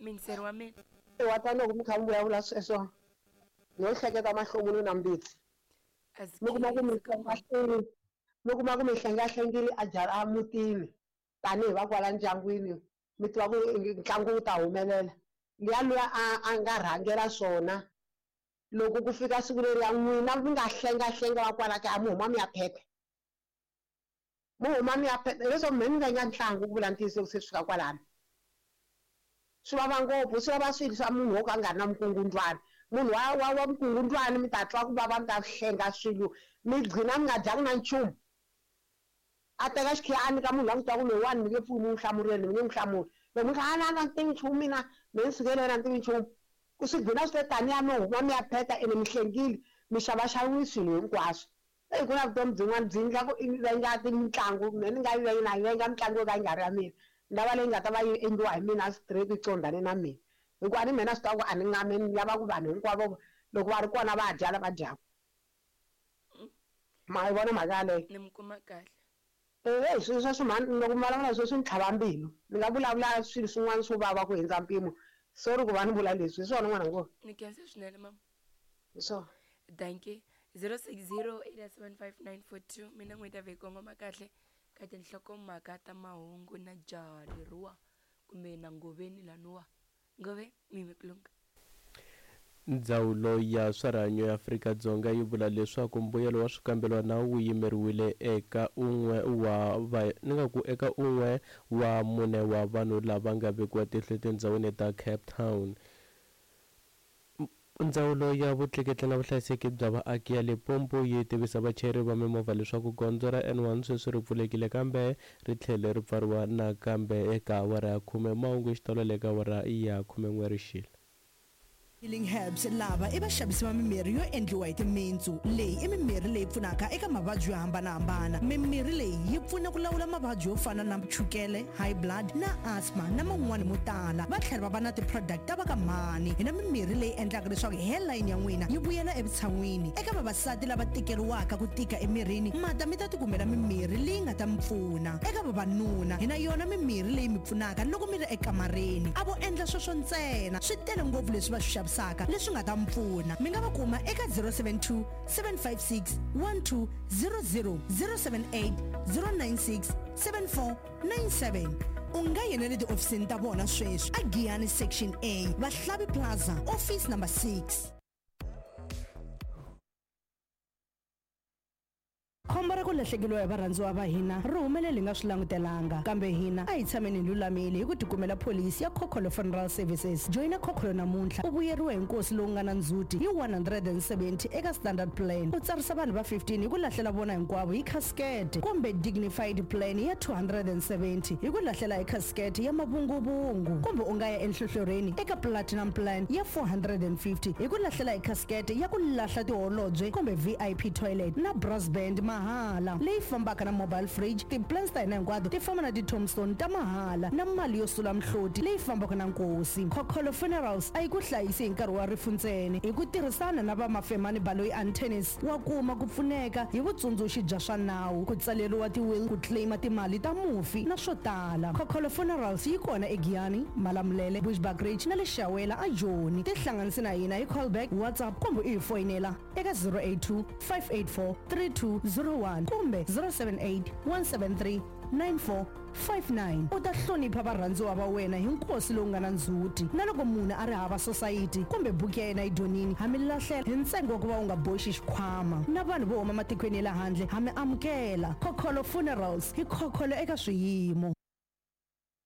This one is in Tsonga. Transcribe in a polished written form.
Muyingiseri wa mina. Wa ta loko mi kha mi vulavula sweswo no hleketa mahlomulo na mbitsi. Mi kuma ku mi hlengahlengile mi kuma ku mi hlengahlengile a jara a mutini tanihi va kwala ndyangwini mi tiva ku ntlangu wu ta humelela. Luya luya a a nga rhangela swona loko ku fika siku leriya n'wina mi nga hlengahlenga va kwala kaya mi huma mi ya phepha. Mi huma mi ya pheta hileswaku mehe ni venga ntlangu ku vula ntiyiso loko se swi fika kwalano. Swi vava ngopfu, swi vava swilo swa munhu wo ka a nga ri na vukungundwani. Munhu wa wa wa vukungundwani mi ta twa ku vava mi ta hlenga swilo mi gcina mi nga dyanga na nchumu. A teka xikhiya a nyika munhu loyi a n'wi tivaka ku loyiwani mi nge pfuki mi n'wi hlamurile ni nge n'wi hlamuli. Loko mi ku a na a ni tivi nchumu mina, mehe ni sukele yena a ni tivi nchumu. Ku swi gcina swi te taniya mi huma mi ya pheta ene mi hlengile mi xavaxaviwe swilo hinkwaswo. Eyi ku na vutomi byin'wana byi endla ku i venga mitlangu mehe ni nga yi venga na yi venga mitlangu yo ka yi nga ri ya mina ni lava leyi nga ta va yi endliwa hi mina straight yi qondane na mina hikuva a ni mehe na swi tiva ku a ni nga me ni lava ku vanhu hinkwavo loko va ri kona va dya lava dyaka ma yi vona mhaka yaleyo ni mi kuma kahle Eyi swilo sweswo mhani loko mi vulavula sweswo swi ni tlhava mbilu ni nga vulavula swilo swin'wana swo vava ku hundza mpimo sorry ku va ni vula leswi hi swona n'wana ngo ni khensa swinene mama hi swona dankie 0608755942 mina n'wheti ya vhe kongoma kahle ka tinhlokomhaka ta mahungu na jaha leriwa kumbe na ngoveni laniwa ngove mimi kulunga Ndzawulo ya swa Rihanyo ya Afrika-Dzonga yi vula leswaku mbuyelo wa swikambelwana wu yimeriwile eka un'we wa va ni nga ku eka un'we wa mune wa vanhu lava nga vekiwa tihlo etindhawini ta Cape Town. Ndzawulo ya Vutleketli na Vuhlayiseki bya Vaaki ya Limpopo yi tivisa vachayeri va mimovha leswaku gondzo ra N1 sweswi ri pfulekile kambe ri tlhele ri pfariwa nakambe eka awara ya khume. Mahungu hi xitalo le ka awara ya khumen'we rixile. Healing Herbs lava i vaxavisi va mimirhi yo endliwa hi timintsu. Leyi i mimirhi leyi pfunaka eka mavabyi yo hambana-hambana. Mimirhi leyi yi pfuna ku lawula mavabyi yo fana na chukele, high blood na asthma na man'wana mo tala. Va tlhela va va na ti-product ta va ka mhani. Hi na mimirhi leyi endlaka leswaku hairline ya n'wina yi vuyela evutshan'wini. Eka vavasati lava tikeriwaka ku tika emirini, ma ta mi ta tikumela mimirhi leyi nga ta mi pfuna. Eka vavanuna, hi na yona mimirhi leyi mi pfunaka loko mi ri ekamareni. A vo endla sweswo ntsena, swi tele ngopfu leswi va swi xavisaka leswi nga ta mi pfuna. Mi nga va kuma eka 072 756 1200, 078 096 7497. U nga ya na le tihofisini ta vona sweswi a Giyani Section A, Vahlavi Plaza, Office Number 6. Khombo ra ku lahlekeriwa hi varhandziwa va hina ri humelele hi nga swi langutelanga. Kambe hina a hi tshameni hi lulamile hi ku tikumela pholisi ya Khokholo Funeral Services. Joyina Khokholo namuntlha u vuyeriwa hi nkosi lowu nga na ndzhuti hi 170 eka Standard Plan, u tsarisa vanhu va 15 hi ku lahlela vona hinkwavo hi khasikete, kumbe Dignified Plan ya 270 hi ku lahlela hi khasikete ya mavunguvungu, kumbe u nga ya enhlohlorheni eka Platinum Plan ya 450 hi ku lahlela hi khasikete ya ku lahla tiholobye kumbe VIP toilet na brass band mahala leyi fambaka na mobile fridge. Ti-plans ta hina hinkwato ti famba na ti-tombstone ta mahala na mali yo sula mihloti leyi fambaka na nkosi. Khokholo Funerals a yi ku hlayisi hi nkarhi wa rifu ntsena. Hi ku tirhisana na va Mafemani Baloyi Antennis, wa kuma ku pfuneka hi vutsundzuxi bya swa nawu, ku tsaleriwa ti-will, ku claim-a timali ta mufi na swo tala. Khokholo Funerals yi kona eGiyani, Malamulele, Bushbuckridge na le Shawela a Joni. Tihlanganise na hina hi callback, WhatsApp kumbe u hi foyinela eka 082 584 3201 kumbe 078 173 9459. U ta hlonipha varhandziwa va wena hi nkosi lowu nga na ndzhuti. Na loko munhu a ri hava sosayiti kumbe buku ya yena yi dyonini, ha mi lahlela hi ntsengo wa ku va u nga boxi xikhwama. Na vanhu vo huma matikweni ya le handle ha mi amukela. Khokholo Funerals, hi khokholo eka swiyimo.